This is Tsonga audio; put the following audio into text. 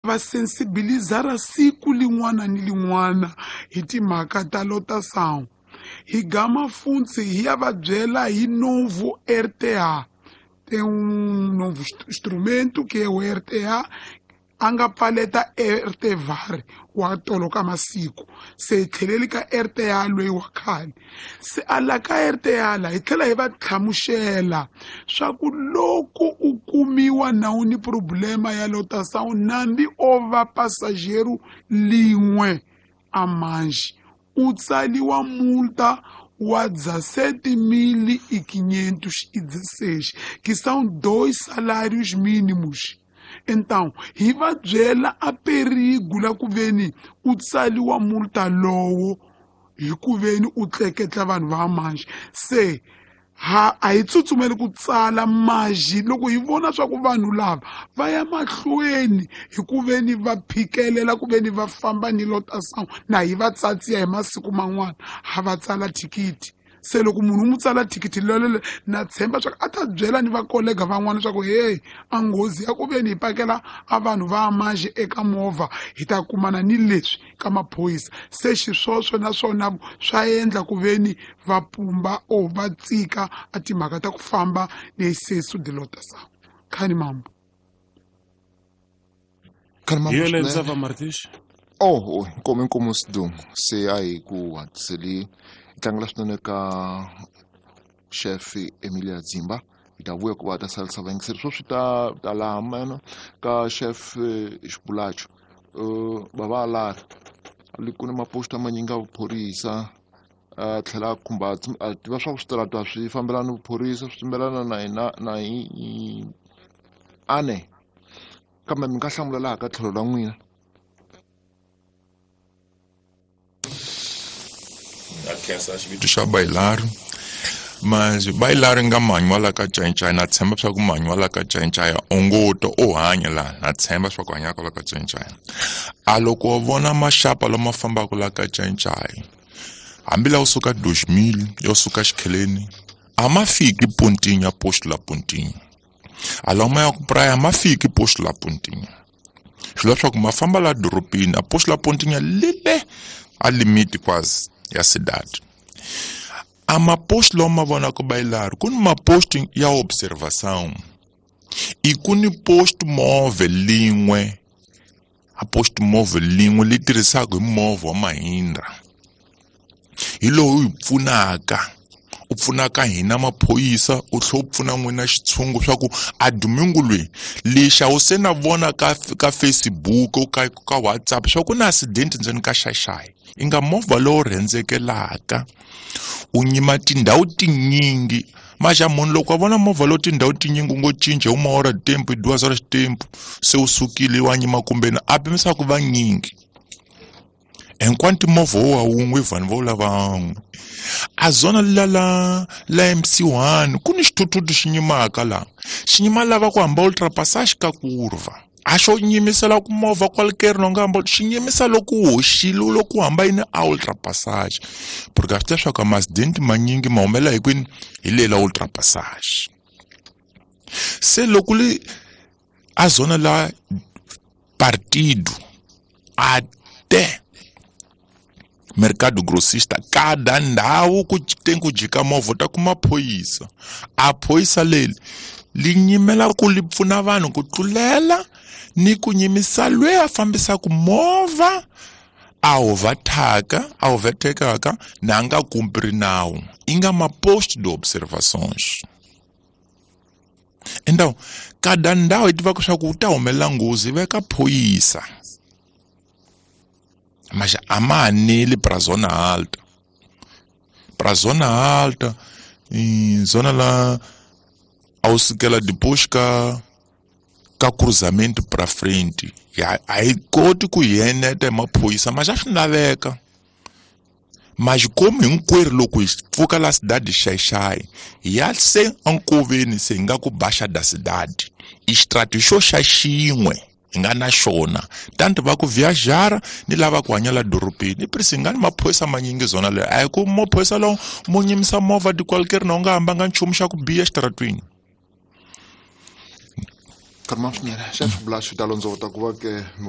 Va sensibilizara siku lin'wana ni lin'wana hi timhaka ta lotação. Hi gama funtsi hi ya va byela hi novo RTA. Tem novo instrumento que é o RTA, a nga pfaleta RTVAR wa tolo ka masiku. Se hi tlheleli ka RTA loyi wa khale. Se a la ka RTA la hi tlhela hi va hlamusela swa ku loko u kumiwa na u ni problema ya lotação nambi o va passageiro lin'we a manji u tsaliwa multa wa 17.516, que são 2 salários mínimos. Então, hi va byela a perigo la ku veni u tsaliwa multa lowo hi ku veni u tleketla vanhu va manji. Se ha a hi tsutsumeli ku tsala maji loko hi vona swa ku vanhu lava va ya mahlweni hi ku veni va phikelela ku veni va famba ni lotação na hi va tsatsiya hi masiku man'wana ha va tsala thikithi. Se loko munhu u n'wi tsala thikithi lolelo na tshemba swa ku a ta byela ni vakolega van'wana swa ku hey, a nghozi ya ku veni hi pakela a vanhu va manji eka movha hi ta kumana ni leswi ka maphorisa. Se xiswoswo naswona swa endla ku veni va pumba o va tsika a timhaka ta ku famba ni excesso de lotação. Khani mambo. Khani mambo Hi yona swinene. Ndzava Martins. Oh, oh, nkomo inkomo Sidumo. Se a hi ku hatliseli hi tlangela swinene ka chef Emilia Dzimba. Hi ta vuya ku va ta salisa vayingiseri swo swi ta ta laha mena ka chef Xibulacho. Bava alari li ku ni maposta manyingi ya vuphorisa, a tlhela a khumba a tiva swa ku switarata swi fambelana ni vuphorisa, swi fambelana na hina na hi ane. Kambe mi nga hlamula laha ka tlhelo ra n'wina. Na khensa xivito xa Bailari. Mas Bailari nga manyi wa la ka Cancaya, na tshemba swa ku manyi wa la ka Cancaya o ngo twa o hanya laha, na tshemba swa ku hanyaka la ka Cancaya. A loko wa vona maxapa lama fambaka la ka Cancaya, hambi la wu suka 2000 yo suka Xikheleni, a ma fiki Pontinha, posto la Pontinha. A lama ya ku praia a ma fiki posto la Pontinha. Swi leswaku ma famba la dorobeni, a posto la Pontinha lile a limite quase ya cidade. A maposto lawa ma vonaka Bailari, ku ni maposto ya observação. I ku ni posto móvel lin'we, a posto móvel lin'we li tirhisaka hi movha wa Mahindra. Hi lowu hi pfunaka, u pfunaka hina maphorisa, u tlhela u pfuna n'wina xitshungu swa ku a domingo loyi lexi a wu se na vona ka Facebook, ka WhatsApp swa ku na accident ndzeni ka Xaxai. I nga movha lowu rhendzekelaka u nyima tindhawu tinyingi. Maxa munhu loko a vona movha lowu tindhawu tinyingi u ngo cinca uma hora de tempo, duas horas de tempo, se u sukile wa nyima kumbe na a pimisa ku va nyingi. Enquanto movha wo wa wun'we vanhu vo lava n'we. A zona la la la MC1 ku ni xithuthuthu xi nyimaka la. Xi nyima lava ku hamba ultrapassage ka kurva. A xo nyimisela ku movha qualquer no nga hamba, xi nyimisa loko u hoxile loko u hamba yini a ultrapassage. Porque a swi tiva swa ku ma-accident manyingi ma humelela hi kwini hi le la ultrapassage. Se loko li a zona la partido até mercado grossista, cada ndhawu ku tem ku jika movha ta kuma phoyisa. A phoyisa leri li nyimela ku li pfuna vanhu ku tlulela ni ku nyimisa loyi a fambisaka movha a overtaka, a overtekaka na nga kumpri nawu. I nga ma posto de observações. Então, cada ndhawu hi tivaka swa ku u ta humelela nghozi veka phoyisa. Mas a ma haneli pra zona alta. Pra zona alta, e zona lá ao sukela depois ka cruzamento pra frente. Ya, a hi koti ku hi eneta hi maphorisa, mas a swi laveka. Mas como hinkwerhu loko hi pfuka la cidade Xaixai, hi ya se enkoveni se hi nga ku Baixa da cidade. I xitrati xo xa xin'we hi nga na xona. Tanto va ku viajara ni lava ku hanya la dorobeni. I prisi hi nga ni maphorisa manyingi zona leyo. A hi ku maphorisa lawa mo nyimisa movha de qualquer na u nga hambanga nchumu xa ku biha exitaratweni. Karma swinene. Chef Bulacho ta londzovota ku va ke mi